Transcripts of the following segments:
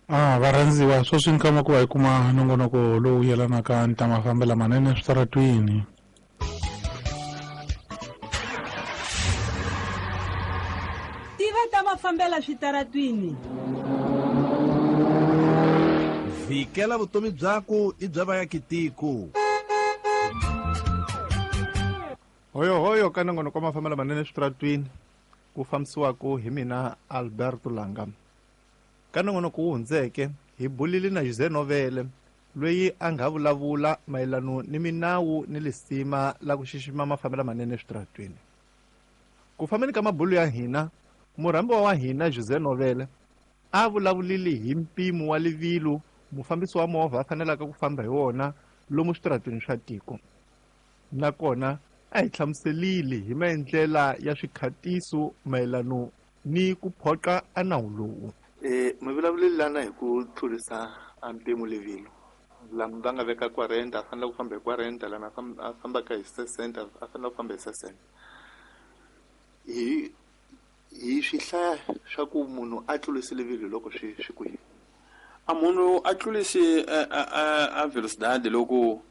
A varhandziwa sweswi nkama ku va hi kuma nongonoko lowu yelanaka ni ta mafambelo manene eswitaratwini. Tiva ta mafambela switaratwini. Vhikela vutomi byaku i bya vayakitiko. Hoyohoyo ka nongonoko wa mafambelo manene eswitaratwini ku fambisiwaka hi mina Alberto Langa. Ka nongonoko wu hundzeke hi bulile na Jose Novele loyi a nga vulavula mayelano ni minawu ni lisima la ku xixima mafambelo manene eswitaratwini. Ku fambeni ka mabulu ya hina, murhambiwa wa hina Jose Novele a vulavulile hi mpimo wa livilo mufambisi wa movha a fanelaka ku famba hi wona lomu switaratwini swa tiko. Nakona a hi hlamuselile hi maendlela ya swikhatiso mayelano ni ku phoqa a nawu lowu. Mi vulavulile lana hi ku tlurisa a mpimo livilo. Lama va nga veka 40 a fanele ku famba hi 40, lama a fambaka hi 60 a fanele ku famba hi 60. Hi hi swi hlaya swa ku munhu a tlurisi livilo loko swi swi kwihi? A munhu a tlurisi a velocidade loko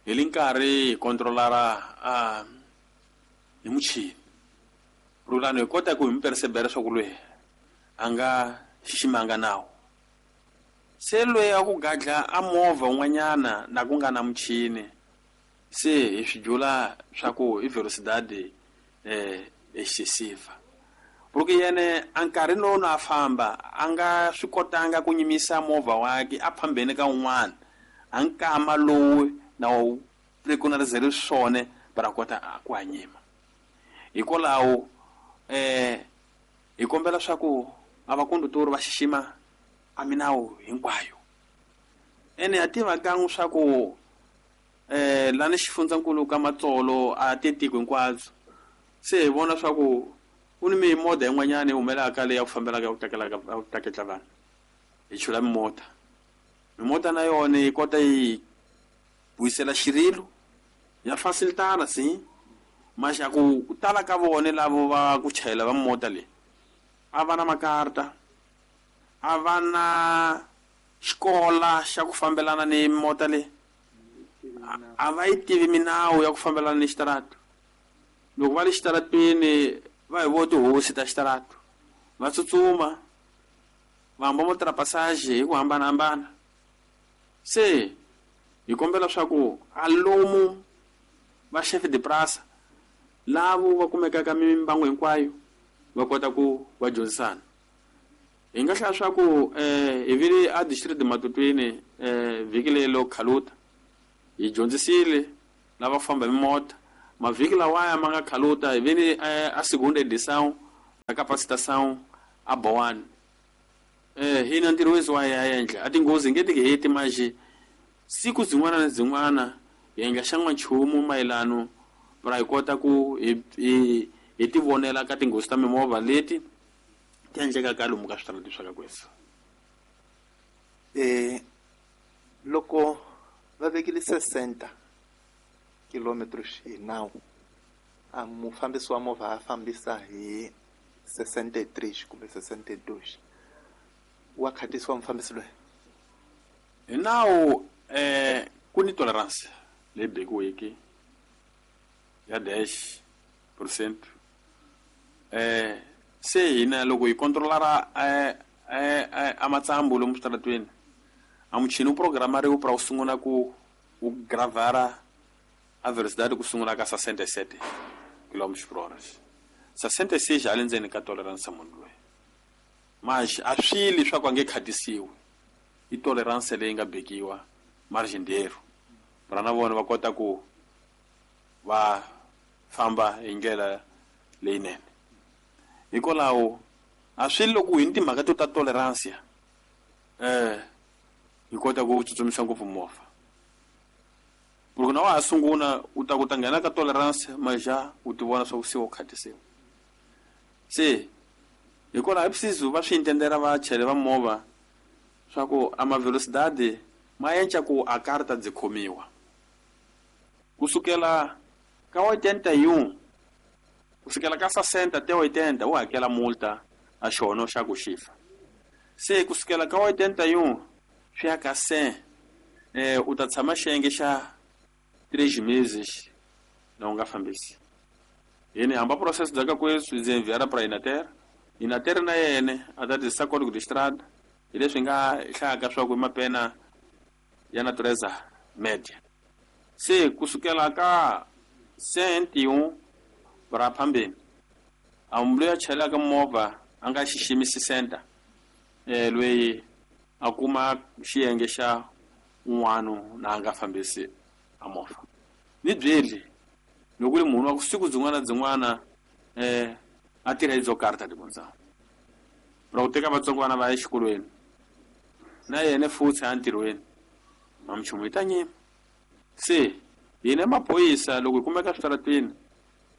hi li nkarhi hi controlara a hi muchini. Rulani hi kota ku hi mi percebera swa ku loyi a nga xiximanga nawu. Se loyi a ku gadla a movha un'wanyana na ku nga na muchini se hi swi dyula swa ku i velocidade excessiva. Porque yene a nkarhi lowu na a famba a nga swi kotanga ku nyimisa movha wakhe a phambeni ka un'wana a nkama lowu na wu preconizele swona para kota ku hanyima. Hikwalaho hi kombela swa ku a vakondutori va xixima a minawu hinkwayo. Ene ha tiva kan'we swa ku lani xifundzankulu ka Matsolo a te tiko hinkwabyo. Se hi vona swa ku ku ni mimodha yin'wanyana yi humelaka leyi ya ku fambelaka ya ku takelaka ya ku taketla vanhu. Hi chula mimodha. Mimodha na yona yi kota yi vuyisela xirilo ya facilitana si maxa ku tala ka vona lavo va ku chayela va mota leyi a va na makarta, a va na xikola xa ku fambelana ni mota leyi, a va yi tivi minawu ya ku fambelana ni xitarata. Loko va le xitarateni va hi vo tihosi ta xitarata, va tsutsuma va hamba mo trapassage hi ku hambanahambana. Se hi kombela swa ku a lomu va chef de prasa lavo va kumekaka mimbangu hinkwayo va kota ku va dyondzisana. Hi nga hlaya swa ku hi vile a district Matutwini vhiki leyi lo khaluta hi dyondzisile lava famba hi mota. Mavhiki lawaya ma nga khaluta hi vile a segunda edição ya capacitação a Boane. Hina ntirho wethu wa ya endla a tinghozi nge ti heti manje siku zin'wana na zin'wana hi endla xan'wanchumu mayelano ra hi kota ku hi hi tivonela ka tinghozi ta mimovha leti ti endlekaka lomu ka switarati swa ka kwesa. Loko va vekile 60 kilometers hi nawu, a mufambisi wa movha a fambisa hi 63 kumbe 62, wa khatisiwa mufambisi loyi? Hi nawu ku ni tolerance leyi bekiweke ya dash percent. Se hina loko hi controlara a matsambu lomu switaratweni, a muchini wu programariwe pra wu sungula ku wu gravara a velocidade ku sungula ka 67 kilometers per hora. 66 a le ndzeni ka tolerance munhu loyi. Manje a swi leswaku a nge khatisiwi. I tolerance leyi nga bekiwa margin dero. Ra na vona va kota ku va famba hi ndlela leyinene. Hikwalaho a swi loko hi ni timhaka to ta tolerance hi kota ku tsutsumisa ngopfu movha. Loko na wa ha sungula u ta ku ta nghena ka tolerance maja u ti vona swa ku se u khatisiwa. Se hikwalaho hi preciso va swi intendera va chayela va movha swa ku a ma velocidade ma enca ku a karta byi khomiwa. Kusukela ka 81 kusukela ka 60 te 80 u hakela multa a xono xa ku xifa. Se kusukela ka 81 swi ya ka 100 u ta tshama xiyenge xa 3 meses na u nga fambisi. Yini hamba process bya ka kweswi ndzi enviara pra Inater. Inater na yene a ta tirhisa código de estrada hi leswi nga hlayaka swa ku i mapena ya natureza media. Se kusukela ka 101 ra phambeni a munhu loyi a chelaka movha a nga xiximisi center loyi a kuma xiyenge xa un'wana na a nga fambisi a movha. Ni byeli loko ri munhu wa siku byin'wana byin'wana a tirha hi byo karhi ta tikontsana ra ku teka vatsongwana va ya exikolweni na yena futhi a ntirhweni mamchumu yi ta nyima. Se hina maphorisa loko hi kumeka switarateni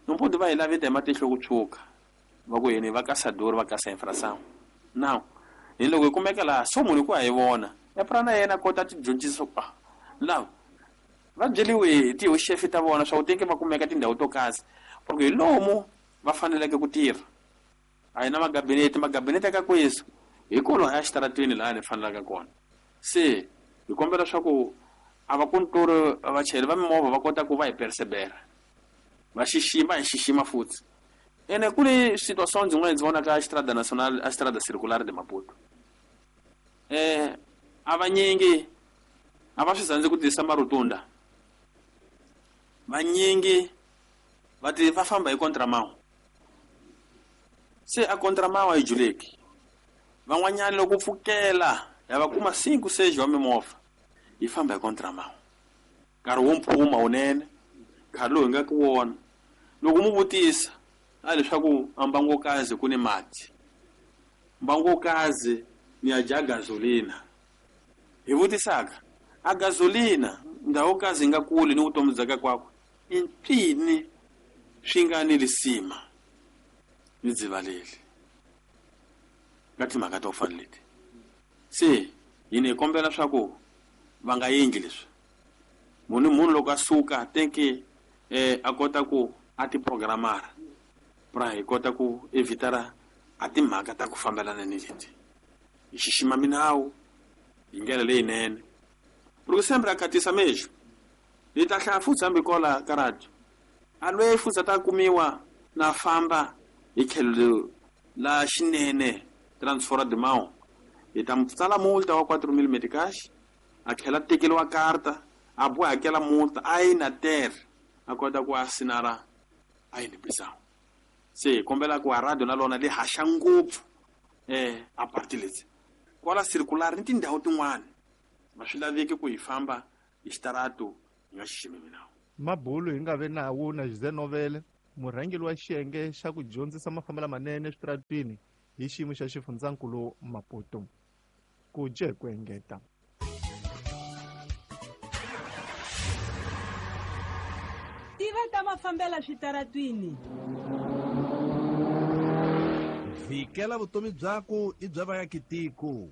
nomputi va hi laveta hi matihlo ku tshuka va ku hina va kasador va kasa infração. Now hi loko hi kumeka laha so munhu ku a hi vona epra na yena kota ti dyondzisa ku lava va byeliwe hi tihoxefe ta vona swa ku teke va kumeka tindhawu to kasi porque hi lomu va faneleke ku tirha. A hi na magabinete, magabinete ka kwesu hi kona ya xitarateni laha ni fanelaka kona. Se hi kombela swa ku a va kuntori vachayeri va mimovha va kota ku va hi persevera va xixima hi xixima futhi. Ene ku ni situation byin'wana ndzi vonaka a Estrada Nacional, a Estrada Circular de Maputo. A vanyingi a va swi tsandzi ku tirhisa marutunda. Vanyingi va ti va famba hi contramão. Se a contramão a yi juleki. Van'wanyana loko pfukela ya va kuma 5 6 wa mimovha yi famba hi contramão. Nkarhi wo mphuma wunene, nkarhi lowu hi nga ku wona. Loko mu vutisa a leswaku a mbangokazi ku ni mati, mbangokazi ni ya dya gasolina. Hi vutisaka a gasolina ndhawu kazi yi nga kuli ni vutomi bya ka kwakwe i mpfini swi nga ni lisima ni dzivaleli ka timhaka to fana leti. Se hina hi kombela swa ku va nga endli leswi. Munhu loko a suka tenke a kota ku a ti programara pra hi kota ku evitara a timhaka ta ku fambelana ni leti. Hi xixima minawu hi ndlela leyinene. Loko sempre a khatisa mexo hi ta hlaya futhi hambi kola ka radio a lweyi futhi a ta kumiwa na famba hi tlhelo la xinene transfora de mão hi ta tsala multa wa 4000 meticais a tlhela tekeriwa karta a boha hakela multa a yi na terre a kota ku asinara a yi ni. Se hi kombela ku a radio na lona li haxa ngopfu a parti leti kwala circular ni tindhawu tin'wana ma swi laveki ku hi famba hi xitarato hi nga xiximi minawu. Mabulu hi nga ve nawu na José Novele, murhangeri wa xiyenge xa ku dyondzisa mafambelo lamanene eswitarateni hi xiyimo xa xifundzankulu Maputo. Ku dye ku engeta. Tiva ta mafambela switaratwini. Vikela vutomi byaku i bya vayakitiko.